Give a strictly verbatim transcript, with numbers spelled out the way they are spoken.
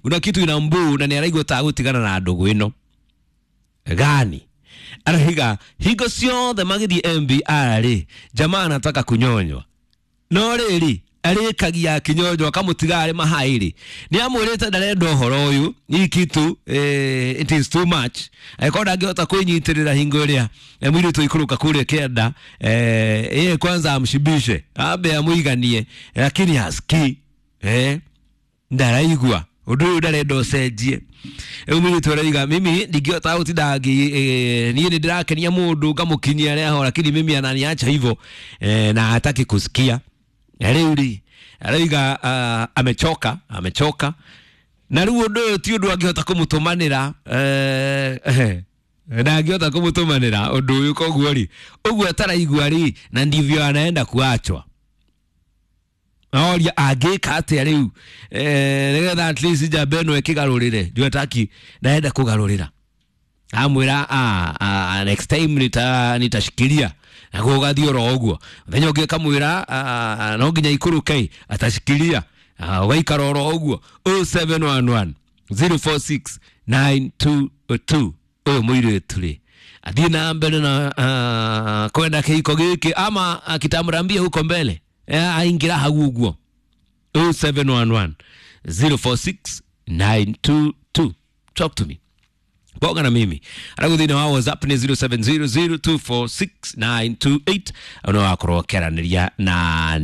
Kuna kitu inambuu na nĩ araigua ta gũtigana na ndũgũ ĩno gani. Arahiga hingo ciothe magĩthiĩ M B R rĩ, jamaa anataka kunyonywa, no rĩrĩ arĩkagia akinyonywa akamũtiga arĩ mahai rĩ, nĩ amwĩrĩte ndarenda ũhoro ũyũ, hii kitu eh, it is too much. Angĩkorwo ndangĩhota kwĩnyitĩrĩra hingo ĩrĩa eh, mũirĩtu aikũrũka kũrĩa kĩanda, eh, yeye kwanza amshibishe, ambe amũiganie, lakini hasikii, eh, ndaraigua ũndũ ũyũ, ndarenda ũcenjie. Rĩu mũirĩtu araiga, mimi ndingĩhota gũtinda ngĩ eh, niĩ nĩ ndĩrakenia mũndũ ngamũkinyia reho, lakini mimi ananiacha hivyo eh, na hataki kusikia. Na rĩu rĩ araiga uh, amechoka, amechoka na rĩu ũndũ ũyũ ti ũndũ angĩhota kũmũtũmanĩra, eh, ndangĩhota kũmũtũmanĩra ũndũ ũyũ. Koguo rĩ, ũguo ataraigua rĩ, na ndivyo anaenda kuachwa. Oria angĩka atĩa rĩu eh, nĩgetha at least njamba ĩno ĩkĩgarũrĩre juu ataki, ndaenda kũgarũrĩra. Amwĩra, "Ah, ah, next time nita nitashikilia," naguo ũgathiĩ oro ũguo. Mũthenya ũngĩ akamwĩra, "Ah, no nginya ikũrũke," atashikilia. Ah, ũgaikara oro ũguo. zero seven one one zero four six nine two two. Ũyũ mũirĩtu rĩ, athiĩ na mbere na uh, kwenda kĩhiko gĩkĩ ama akitamrambia huko mbele? Eh, aingĩra hau ũguo. zero seven one one zero four six nine two two, talk to me, bonga na mimi. Aragu thĩinĩ wa WhatsApp nĩ zero seven zero zero two four six nine two eight, no wakorwo ũkĩaranĩria na.